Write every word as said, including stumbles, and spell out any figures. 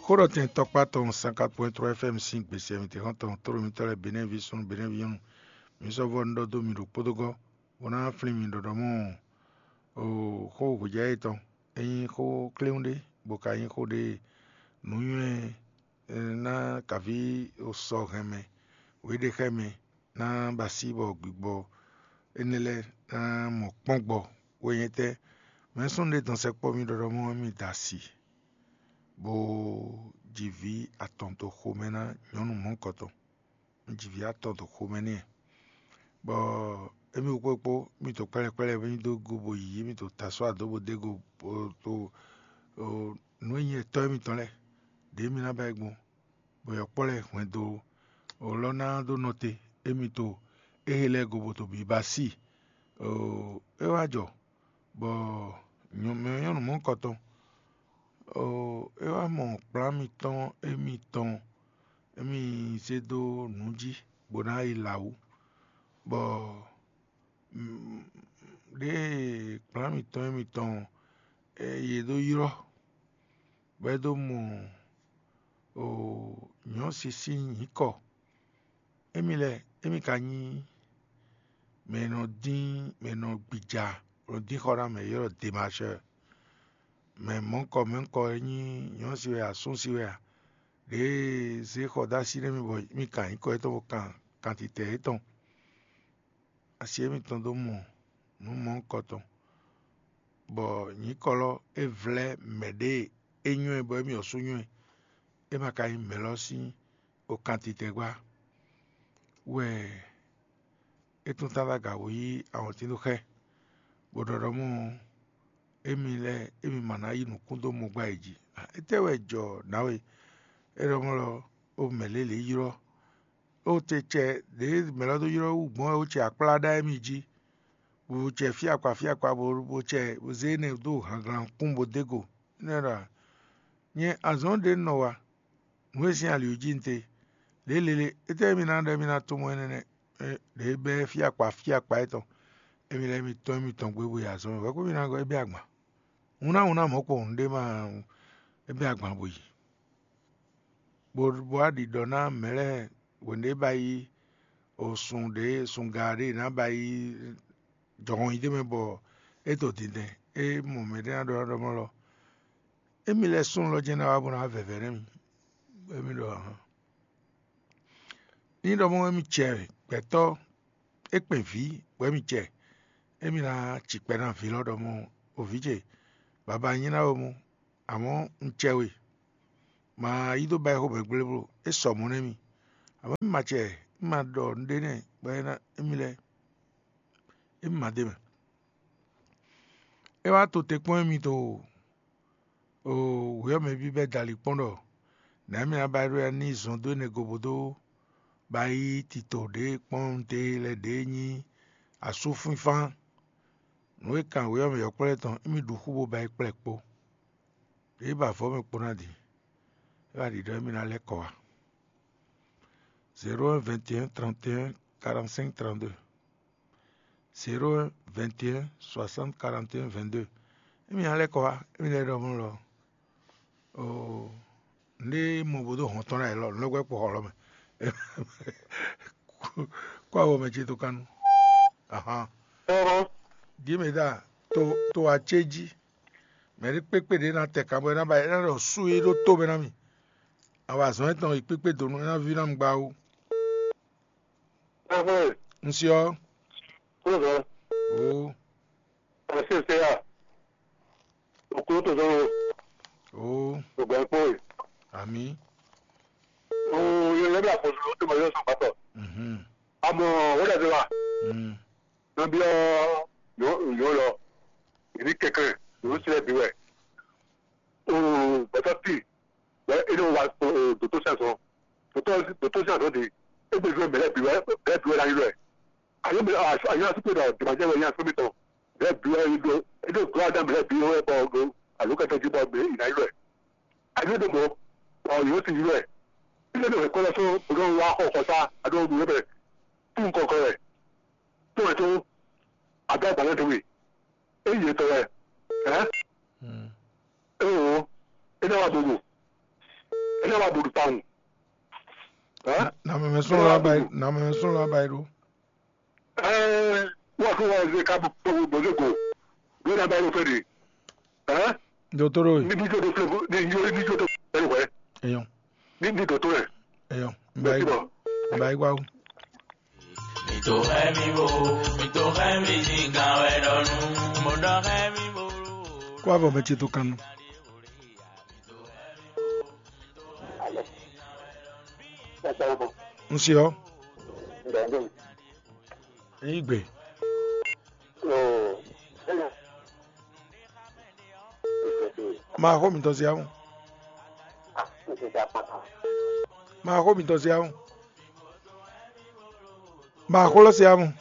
Xó ɖɔ tɛn tɔkpá tɔn sanka point trois F M sín gbèsè mǐtɛn xɔ́ntɔn tlóló mitɔ́ lɛ́ɛ Benɛ́vi súnnu Benɛ́vi nyɔ́nu, mi sɔ́ vɔ́ un ɖɔ dó mi ɖo kpódógɔ́, bó ná flín mi ɖɔɖɔ mɔ xó hwejǎ yětɔn. É nyí xó kléwún ɖé, bó ka nyí xó ɖé nǔnywɛ́ ná kaví sɔ hɛn mɛ, wěɖexɛ́mɛ ná ba así bɔ gbigbɔ énɛ́ lɛ́ɛ ná mɔ kpɔ́n gbɔ. Wɛ nyɛ tɛ́, mɛ̌ súnnu ɖé dɔn sɛkpɔ́ mì ɖɔɖɔ mɔ mi da asi, bó ji vǐ atɔn dó xomɛ ná nyɔ̌nu mɔ̌hunkɔtɔn. Un ji vǐ atɔn dó xomɛ n'i, bɔ émí kpókpó mì to kpɛ́lɛ́ kpɛ́lɛ́ mì dó go bó yí mì to taswá dó bó dó go bó to nǔ e nyí etɔ́ émítɔn lɛ́ɛ ɖě mì ná ba yi gbɔn, bɔ yɔkpɔ́ lɛ́ɛ hwɛndo lɔ́ ná dó nɔ te émí to éhe lɛ́ɛ go bó to bǐ ba sí. É wá jɔ bɔ mɛ nyɔ́nu mɔ̌hunkɔtɔn é wá mɔ kplán mitɔn émítɔn émí zé dó nǔ jí bó ná yi lawǔ, bɔ ɖěe kplán mitɔn émítɔn yě dó ylɔ́ bɔ é dó mɔ nyɔ̌si sín nyǐkɔ. Émí lɛ́ɛ, émí ka nyí mɛ e nɔ dín mɛ e nɔ gbija, bó nɔ dín xɔ ná mɛ e ylɔ́ ɖɔ demashɛ́, mɛ mɔ̌hunkɔ mɔ̌hunkɔ e nyí nyɔ̌si wɛ a, súnsi wɛ a, ɖěe zé xɔ dó así nú émí bɔ émí kan nyǐkɔ yětɔn bó kan kantitɛ yětɔn. Asi émítɔn dó mɔ nǔ mɔ̌hunkɔtɔn, bɔ nyǐkɔ lɔ é vlɛ́ mɛ ɖěe é nywɛ́ bɔ émí ɔ́ sú nywɛ́, é ma ka nyí mɛ̌ lɔ sín okantitɛgbá wɛ é tún tántán gǎn bó yí awɔntín dó xɛ, bó ɖɔ ɖɔ mɔ émí lɛ́ɛ émí ma ná yí nǔkún dó mɔ gbá yě jí. Étɛ́ wɛ jɔ nǎwe? É ɖɔ mɔ̌ lɔ ó mɛ lě lě ylɔ́, ó te cɛ ɖě mɛ lɔ dó ylɔ́ wú gbɔn wɛ ó cɛ akplá ɖá émí jí, bó cɛ fí akpa fí akpa bó bó cɛ bó zé énɛ́ dó hanglan kún bó dó go. Énɛ́ ɖɔ nyɛ azɔ̌ ɖě un nɔ wa, nǔ e sín ali wú jí un te. Lě lele, étɛ́ émí ná ɖɔ émí ná tunwun énɛ́ nɛ́? Ɖě bɛ́ fí akpa fí akpa étɔn, émí lɛ́ɛ émí tɔ́n émí tɔn gbé bó yi azɔ̌ mɛ, hwɛ̌kú mì ná gɔ́ é bɛ́ agban. Un ná un ná mɔ̌ kpowun ɖé ma é bɛ́ agban bó yi. Bó bó wá ɖi ɖɔ ná mɛ lɛ́ɛ hwenu ɖé ba yi o sun ɖě sunga ɖé ná ba yi jɔhɔn yi d'é mɛ bɔ é to dindɛn, é mɔ mɛ ɖé ná ɖɔ ɖɔ mɔ lɔ, émí lɛ́ɛ súnnu lɔ jɛ́n ná wá bó ná wá vɛvɛ nɛ́ mi, bɔ émí ɖɔ hǎn. Ní ɖɔ mɔ émí cɛ gbɛtɔ́ é kpɛn vǐ bɔ émí cɛ, émí ná ci kpɛ ná vǐ lɔ ɖɔ mɔ o vǐ ce, baba nyí ná we mɔ, amɔ̌ un cɛ we, ma yí dó ba ɛ xo mɛ gblé bló, é sɔ mɔ̌ nɛ́ mì. Amɔ̌ mì ma cɛ, mì ma ɖɔ nǔɖé nɛ́ bɔ é ná émí lɛ́ɛ, émí ma d'é mɛ. É wá to te kpɔ́n émí to oo, wě ɔ́ mɛ bíbɛ́ dali kpɔ́n ɖɔ nɛ̌ mì ná ba ɖó ya ní zɔn dó énɛ́ go bó dó ba yí tito ɖě kpɔ́n te lɛ́ɛ ɖě nyí asúfínfán. Nǔ e kan wě ɔ́ mɛ yɔ̌kpɔ́ lɛ́ɛ tɔn émí ɖu xú bó ba yi kplɛ́ kpó. Ɖěe ba vɔ̌ mɛ kpo ná din, é wá ɖiɖɔ émí ná lɛ́ kɔ wá. Zéro un vingt et un trente et un quarante-cinq trente-deux. Zéro un vingt et un soixante quarante et un vingt-deux. Émí ná lɛ́ kɔ wá, émí lɛ́ ɖɔ mɔ̌ lɔ. Oo, nɖé mɔ bó dó hɔn tɔn ná yě lɔ, nǔ lɛ́ gbɛ́ kpo xɔ lɔ mɛ. Kó awɔ mɛ ce tó kánú. Ahan. Dímɛdá, to to acé jí. Mɛ ɖé kpékpé ɖě ná tɛ kan bɔ é ná ba é ná ɖɔ sú é ɖó tó mɛ ná mì. Awɔ azɔn étɔn yi kpékpé donu é ná ví ná mi gba wú. Ɛhɛn, Un se ɔ́, kúrò sɔ. Oo, Ɛsɛ se ya. Okúrò tó sɔn o. Oo, Ògbà kpó e. Àmì. Oo, yẹn lẹ́bi àkóso tó mọ̀ yóò sọ pátọ̀. Mhm. Àmọ́ ó dàbí wa. Mm. Nàbí ọ́ yóò lọ. Ìdí kẹ̀kẹ́ yóò sílẹ̀ bí wẹ̀. Oo, bàtà tì. Bɛ e ɖo wa doto sɛn sɔn. Doto doto sɛn sɔn de. E gbe zɔn bɛlɛ bi wɛ bɛlɛ bi wɛ la yi lɛ. Ayo mi ayo asu pe dɔ dibajɛ wɛ yan sɔmi tɔn. Bɛlɛ bi wɛ yi do e do do adam bɛlɛ bi wɛ bɔ do alo kɛtɛ ji bɔ bɛ yi la yi lɛ. Ayo do mɔ ɔ yóò ti yi lɛ. Ilé do hɛkɔ lɛ so o dɔn wa xɔ xɔ sa a do nu yɛ bɛ. Tu nkɔkɔ wɛ. To wɛ to. A do agbalɛ to wi. E yi etɔ wɛ. Ɛ. Mm. Eo, Ena wa bobo. Ena wa bodo pawun. Hein? Na meme sɔn la bai, na meme sɔn la bai ɖo. Eh, wa ko wa ze ka bo bo bo ze go. Go na bai lo fedi. Hein? Dotoro. Ni bi to do fle go, ni yo ni to do fle go. Eyo. Ni ni dotoro. Eyo. Bai. Bai wa. Mito hɛ mi bo, mito hɛ mi din gan wɛ ɖɔ nu. Mo ɖɔ hɛ mi bo. Kó avɔ bɛ ce tó kan nɔ. N se ɔ. N yi gbe. Ma xó mitɔn se awu. Ma xó mitɔn se awu. Ma xó lɔ se awu.